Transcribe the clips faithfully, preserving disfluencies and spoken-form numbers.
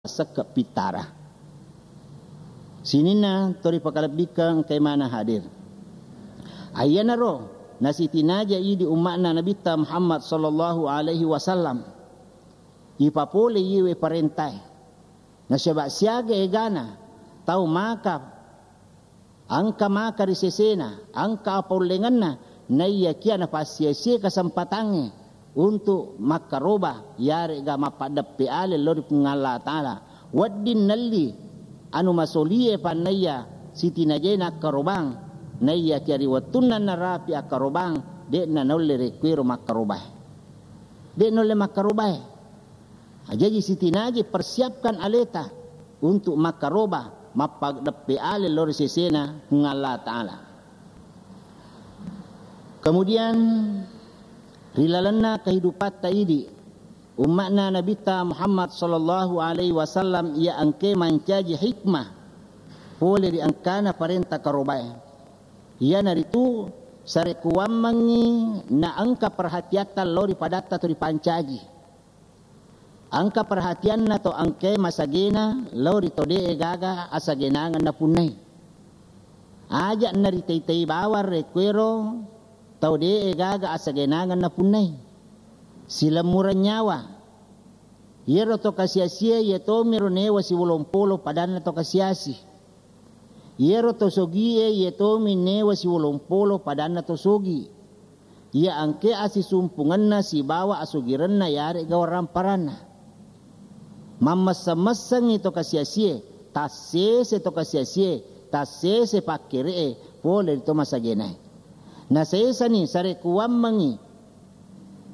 sekke pittara. Sininna to ripakalebbikeng engkae maneng hadir. Aiyanaro nasitinaja idi umma'na Nabitta Muhammad sallallahu alaihi wasallam. Ipapole iyewe parentae. Nasaba siaga egana tau maka engka maka ri sesena, engka apaullengenna, naiyakia napassiasie kesempatangnge untuk makkaroba, iyare'ga mappaddeppe ale lao ri Puang Allah Ta'ala. Wedding nelli anu masolie pannaiya sitinajai nakkarobang, naiyakia ri wettunna narapi akkarobang, de'na naulle rekkuero makkarobae. De' naulle makkarobae. Jaji sitinaji persiapkan aleta untuk makkaroba, mappaddeppe ale lao ri sesena Puang Allah Ta'ala. Kemudian ri lalenna kehidupatta idi, umma'na Nabitta Muhammad sallallahu alaihi wasallam iya engke mancaji hikmah pole ri engkana parenta karobae. Iyanaritu sarekkuwammengngi na engka perhatiatta lao ri padatta to ripancaji. Engka perhatianna to engkae masagena lao ri to de'e gaga asagenangeng napunnai. Aja' naritei-tei bawang rekkuero tau de'e gaga asagenangeng napunnai. Silemmureng nyawa. Iyaro to kasiasie iye tomiro newa siwolompolo padanna to kasiasi. Iyaro to sogie iye tomi newa siwolompolo padanna to sogi. Iya engke asisumpungenna sibawa asogirenna iyare'ga waramparanna. Mammesseng-messengngi to kasiasie, tassese to kasiasie, tassese pakkere'e pole ri to masagenae. Nasesani sarekkuwammengngi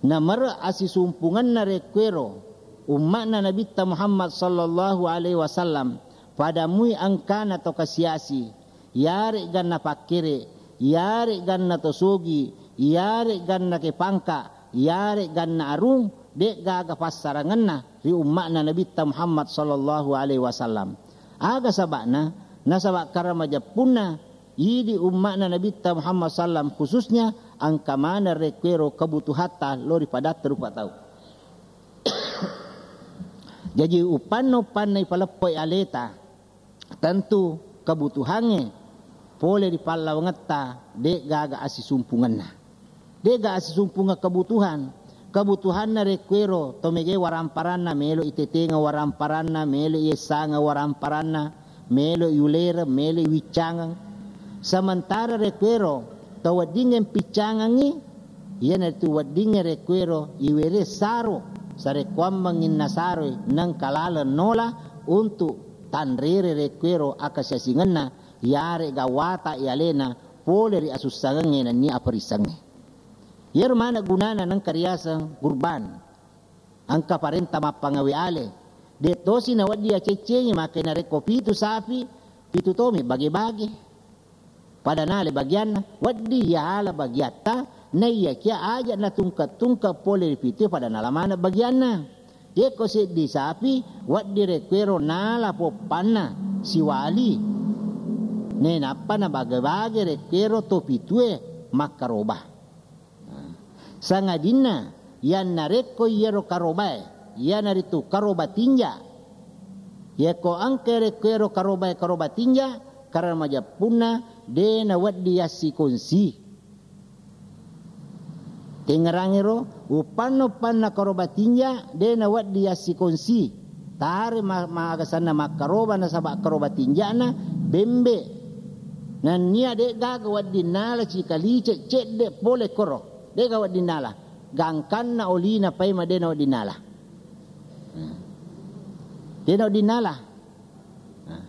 namere asisumpungenna rekkuero umma'na Nabitta Muhammad sallallahu alaihi wasallam, padamui engkana to kasiasi, iyare'ganna pakkere, iyare'ganna to sogi, iyare'ganna ke pangka, iyare'ganna arung, de'gaga passarangenna ri umma'na Nabitta Muhammad sallallahu alaihi wasallam. Aga saba'na? Nasaba karamajeppunna idi umma'na Nabitta Muhammad sallam khususnya engka maneng rekkuero kebutuhatta lao ri padatta rupa tau. Jaji uppanna-uppanna ipaleppo aleta, tentu kebutuhangnge pole ri pallawangetta de'gaga asisumpungenna. De'ga asisumpungeng kebutuhan. Kebutuhanna rekkuero to mege waramparanna, melo itetengeng waramparanna, melo iessangeng waramparanna, melo iulereng, melo iwiccangeng. Sementara rekkuero to weddingnge piccangengngi, iyanaritu weddingnge rekkuero iwere saro, sarekkuammengnginna saroi nengka laleng nola untuk tanrere rekkuero akasiasingenna, iyare'ga wata ialena pole ri asussangengnge nennia aperissengnge. Iyaro maneng gunana nengka riaseng kurban. Engka parenta mappangawe ale. De' tosi nawedding aceccengi, maka narekko pitu sapi, pitu tomi bage-bage. Pada nala bagianna, wedding yala bagiatta, naiyakia aja natungke-tungke pole ri pitu pada nala maneng bagianna. Yekko seddi sapi, wedding rekkuero nala poppanna siwali. Nainappa nabage-bage rekkuero to pitue makkaroba. Sangadinna, yannarekko iyaro karobae, iyanaritu karoba tinja. Yekko engka rekko iyaro karobae karoba tinja, karena majeppunna de nawedding yassikonsi. Tengngerangiro, uppanna-uppanna karoba tinja de nawedding yassikonsi. Tare ma-, magasanna makkaroba nasaba karoba tinjana bembe. Nennia de'gaga wedding nala cikaliceng cedde pole koro. De'ga wedding nala. Gangkanna olina paima de nawedding nala. Hmm. De nawedding nala. Nah.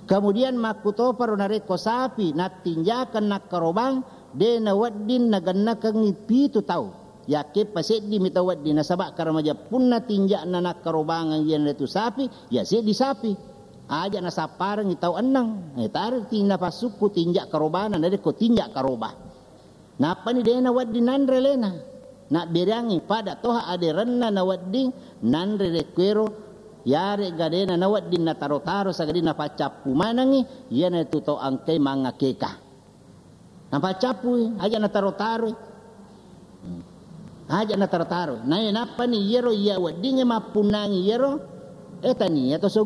Kemudian makkutoparo narekko sapi nattinjakeng nakkarobang, de nawedding nagennakengngi pitu tau. Yakke paseddimi tau wedding, nasaba karena majeppunna tinja'na nakkarobangeng iyanaritu sapi, ya seddi sapi. Aja nasapparengngi tau enneng. Eh, taro tinna passukku tinja karobana, narekko tinja karoba. Nappani de nawedding nanre alena. Nabbereangngi pada toha aderenna nawedding nanre rekkuero, yaregga de nawedding nataro-taro, sagadinna paccappu manengngi, iyanaritu tau engkai mangakeka. Napaccappui, aja nataro-taroi. Aja nataro-taroi. Nae nappani iyaro iya weddingnge mappunnangi iyaro, eh, tania to sogi.